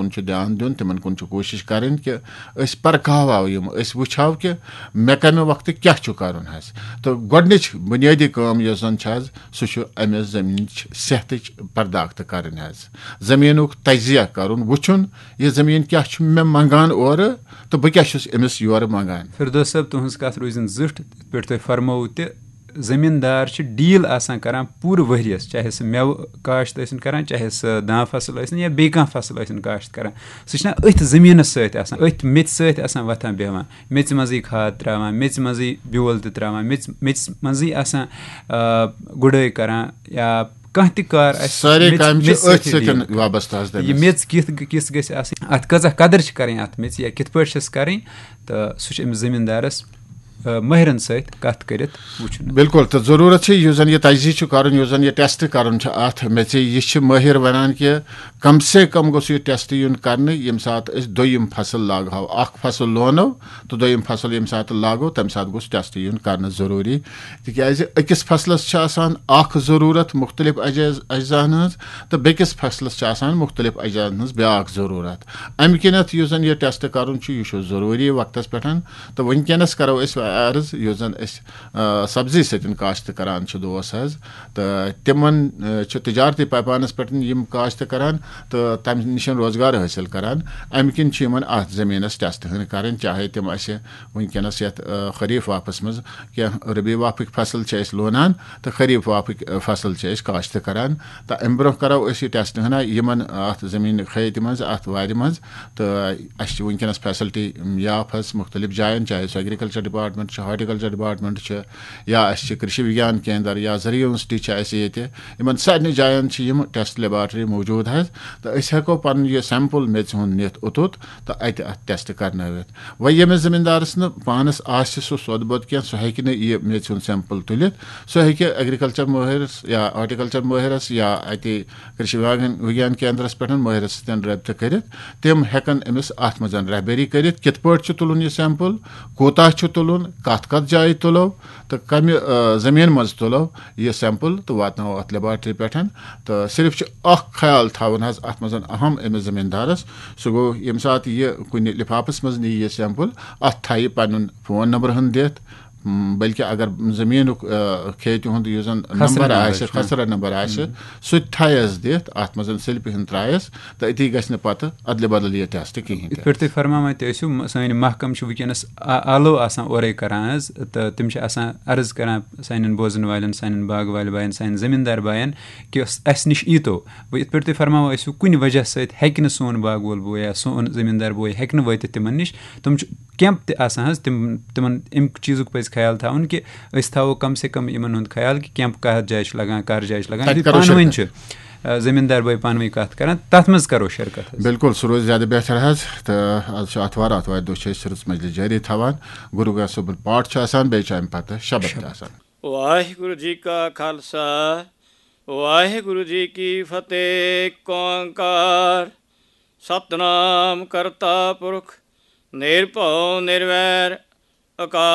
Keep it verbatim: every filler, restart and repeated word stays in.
چھُ دیان دیُن، تِمن کُن چھُ کوٗشِش کرٕنۍ کہِ أسۍ پرکھاوو یِم، أسۍ وٕچھو کہِ مےٚ کمہِ وقتہٕ کیٛاہ چھُ کرُن حظ۔ تہٕ گۄڈٕنِچ بُنیٲدی کٲم یۄس زن چھِ حظ، سُہ چھُ أمِس زٔمیٖنٕچ صحتٕچ پرداخت کرٕنۍ حظ۔ زٔمیٖنُک تجزیہ کرُن، وٕچھُن یہِ زٔمیٖن کیٛاہ چھُ مےٚ منٛگان اورٕ تہٕ بہٕ کیٛاہ چھُس أمِس یورٕ منٛگان۔ فردوس صٲب، تُہٕنٛز کَتھ روٗزِن زِٹھ، یِتھ پٲٹھۍ تۄہہِ فرمووُ تہِ، زٔمیٖندار چھِ ڈیٖل آسان کران پوٗرٕ ؤریَس، چاہے سُہ مٮ۪وٕ کاشت ٲسِن کران، چاہے سُہ داں فصل ٲسِن یا بیٚیہِ کانٛہہ فصل ٲسِن کاشت کران۔ سُہ چھُنہ أتھۍ زٔمیٖنَس سۭتۍ آسان، أتھۍ میٚژِ سۭتۍ آسان وۄتھان بیٚہوان، میٚژِ منٛزٕے کھاد ترٛاوان، میٚژِ منٛزٕے بیول تہِ ترٛاوان، میٚژِ میٚژِ منٛزٕے آسان، آ، گُڈٲے کران یا کانٛہہ تہِ کار آسہِ، سارے میٚژِ کامہِ چھِ میٚژِ أتھۍ سۭتۍ سۭتۍ deal کران۔ وابستہٕ حظ یہِ تٔمِس۔ میٚژ کِژھ کِژھ گژھِ آسٕنۍ، اَتھ کۭژاہ قدٕر چھِ کَرٕنۍ اَتھ میٚژِ یا کِتھ پٲٹھۍ چھَس کَرٕنۍ، تہٕ سُہ چھُ أمِس زٔمیٖندارَس، آ، مٲہرَن سۭتۍ کَتھ کٔرِتھ وٕچھُن۔ بِلکُل، تہٕ ضروٗرت چھِ یُس زَن یہِ تجزیہ چھُ کَرُن، یُس زَن یہِ ٹیسٹ کَرُن چھُ اَتھ میٚژِ، یہِ چھِ مٲہِر وَنان کہِ کم سے کم گوٚژھ یہِ ٹیسٹ یُن کرنہٕ، ییٚمہِ ساتہٕ أسۍ دوٚیِم فصل لاگہو۔ اکھ فصل لونو تہٕ دوٚیِم فصل ییٚمہِ ساتہٕ لاگو، تمہِ ساتہٕ گوٚژھ ٹیسٹ یُن کرنہٕ ضروٗری، تِکیازِ أکِس فصلس چھِ آسان اکھ ضروٗرت مُختٔلِف اجز-، اجزاہن ہٕنٛز تہٕ بیٚکِس فصلس چھِ آسان مُختٔلِف اجزاہن ہٕنٛز بیاکھ ضروٗرت۔ امہِ کِنیتھ یُس زن یہِ ٹیسٹ کرُن چھُ، یہِ چھُ ضروٗری وقتس پٮ۪ٹھ۔ تہٕ وٕنکیٚنس کرو أسۍ عرض، یُس زن أسۍ، آ، سبزی سۭتۍ کاشت کران چھِ دوس حظ، تہٕ تِمن، آ، چھِ تجارتی پیمانس پٮ۪ٹھ یِم کاشت کران تہٕ تمہِ نِش روزگار حٲصِل کران۔ امہِ کِنۍ چھِ یِمن اتھ زٔمیٖنس ٹیسٹ ہن کرٕنۍ، چاہے تِم اسہِ وٕنکیٚنس یتھ، آ، خریف واپس منٛز کینٛہہ ربیع واپٕکۍ فصل چھِ أسۍ لونان تہٕ خریف واپٕکۍ، آ، فصل چھِ أسۍ کاشت کران۔ تہٕ امہِ برونٛہہ کرو أسۍ یہِ ٹیسٹ ہنا یِمن اتھ زٔمیٖن خیتہِ منٛز، اتھ وارِ منٛز۔ تہٕ اسہِ چھِ وٕنکیٚنس فیسلٹی یاف حظ مُختٔلِف جاین، چاہے سُہ ایگریکلچر ڈپارٹمنٹ چھُ، ہارٹیکلچر ڈپارٹمنٹ چھُ، یا اَسہِ چھِ کرشی وگیان کیندر یا زرعی یونیورسٹی چھِ اَسہِ ییٚتہِ۔ یِمن سارنٕے جاین چھِ یِم ٹیسٹ لیبارٹری موجود حظ، تہٕ أسۍ ہٮ۪کو پنُن یہِ سیمپل میٚژِ ہُنٛد نِتھ اوٚتُتھ تہٕ اَتہِ اَتھ ٹیسٹ کرنٲوِتھ۔ وۄنۍ ییٚمِس زٔمیٖندارس نہٕ پانس آسہِ سُہ سوٚد بوٚد کینٛہہ، سُہ ہٮ۪کہِ نہٕ یہِ میٚژِ ہُنٛد سیمپل تُلِتھ۔ سُہ ہیٚکہِ ایگریکلچر مٲہرس یا ہارٹیکلچر مٲہرس یا اَتہِ کرشی وگیان، وگیان کیندرس پٮ۪ٹھ مٲہرس سۭتۍ رٲبطہٕ کٔرِتھ۔ تِم ہٮ۪کن أمِس اتھ منٛز رہبری کٔرِتھ، کِتھ پٲٹھۍ چھُ تُلُن یہِ سیمپل، کوٗتاہ چھُ تُلُن، کتھ کتھ جایہِ تُلو تہٕ کمہِ، آ، زٔمیٖن منٛز تُلو یہِ سیمپل تہٕ واتناوو اتھ لیبارٹری پٮ۪ٹھ۔ تہٕ صرف چھُ اکھ خیال تھاوُن حظ اتھ منٛز اہم أمِس زٔمیٖندارس، سُہ گوٚو ییٚمہِ ساتہٕ یہِ کُنہِ لفافس منٛز نِیہِ یہِ سیمپل، اتھ تھایہِ پنُن فون نمبر ہن دِتھ، م، بلکہِ اگر زٔمیٖنُک، آ، کھیتہِ ہُنٛد یُس زن خسرٕ نمبر نمبر آسہِ، چھُ۔ خسرٕ نمبر آسہِ، ہم۔ سُہ تہِ تھایس دِتھ، اتھ منٛز سلپہِ ہن ترایس، تہٕ أتی گژھِ نہٕ پتہٕ ادلہِ بدل یہِ ٹیسٹ کِہینۍ یِتھ تہِ۔ پٲٹھۍ تُہۍ فرماوان تہِ ٲسِو، م-، سٲنۍ محکمہٕ چھِ وٕنکیٚنَس آ-، آلو آسان اورَے کران حظ، تہٕ تِم چھِ آسان عرض کران سانٮ۪ن بوزَن والٮ۪ن، سانٮ۪ن باغہٕ والٮ۪ن بایَن، سانٮ۪ن زٔمیٖندار بایَن کہِ اَس-، اَسہِ نِش ییٖتو۔ وۄنۍ یِتھ پٲٹھۍ تُہۍ فرماوان ٲسِو، کُنہِ وجہ سۭتۍ ہیٚکہِ نہٕ سون باغہٕ وول بوے یا سون زٔمیٖندار بوے ہیٚکہِ نہٕ وٲتِتھ تِمَن نِش، تِم چھِ کیمپ تہِ آسان حظ، تِم، تِمَن اَمہِ چیٖزُک پَزِ خیال تھاوُن کہِ أسۍ تھاوو کم سے کم یِمَن ہُنٛد خیال کہِ کیمپ کَتھ جایہِ چھُ لَگان، کَر جایہِ چھُ لَگان، تَتہِ بیٚیہِ کَرو پانہٕ ؤنۍ شرکت۔ چھِ، آ، زٔمیٖندار بٲے پانہٕ ؤنۍ کَتھ کَران، تَتھ منٛز کَرو شرکت حظ۔ بِلکُل، سُہ روزِ زیادٕ بہتر حظ۔ تہٕ آز چھُ آتھوار، آتھوارِ دۄہ چھِ أسۍ رٕژ مجلس جٲری تھاوان۔ گُروٗ گرٛنتھ صٲبُن پاٹھ چھُ آسان، بیٚیہِ چھُ اَمہِ پتہٕ شبد تہِ شبد۔ آسان۔ ਵਾਹਿਗੁਰੂ ਜੀ ਕਾ ਖਾਲਸਾ, ਵਾਹਿਗੁਰੂ ਜੀ ਕੀ ਫਤਿਹ। ਏਕ ਓੰਕਾਰ, ਸਤਨਾਮ ਕਰਤਾ ਪੁਰਖ, ਨਿਰਭਉ ਨਿਰਵੈਰ, ਅਕਾਲ